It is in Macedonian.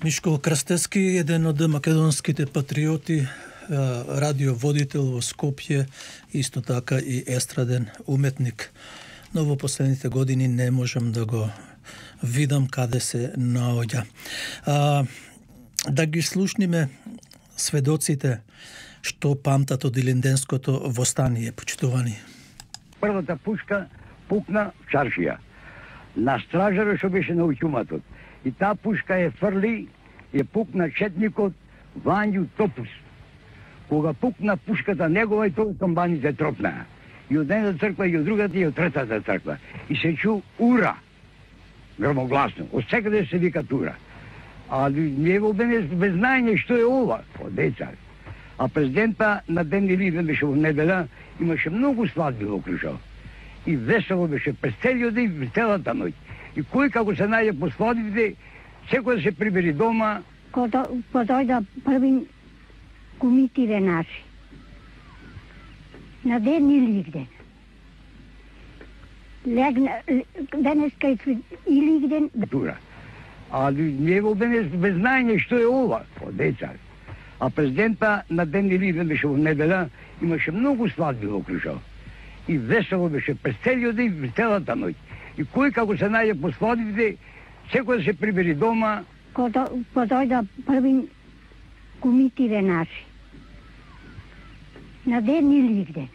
Мишко Крстевски, еден од македонските патриоти, радиоводител во Скопје, исто така и естраден уметник. Но во последните години не можам да го видам каде се наоѓа. Да ги слушниме сведоците што памтат од Илинденското востание, почитувани. Првата пушка пукна в чаршија. На стражарот што беше на уќуматот. И таа пушка е фрли, е пукна четникот Вању Топус. Кога пукна пушката негова и тоа камбаните тропнаа. И од едната црква, и од другата, и од третата црква. И се чу ура, громогласно. Од секаде се вика ура. А ние во без знаење што е ова, од деца. А президента на ден Илинден беше во неделя, имаше многу свадби во Крушево. И весело беше през целиот ден, целата ноќ. И кој како се најде по свадбите, секој да се прибери дома. Кога дојда први кумитиве наши, на ден Илинден. Денеска и Илинден. А ние во без знаење што е ова, од деца. А президента на ден Илинден беше во неделя, имаше многу свадби во Крушево. И весело беше през целиот ден, целата ноќ. И кој како се најде по свадбите, секој да се прибери дома. Кога дојда први кумитиве наши, на ден Илинден.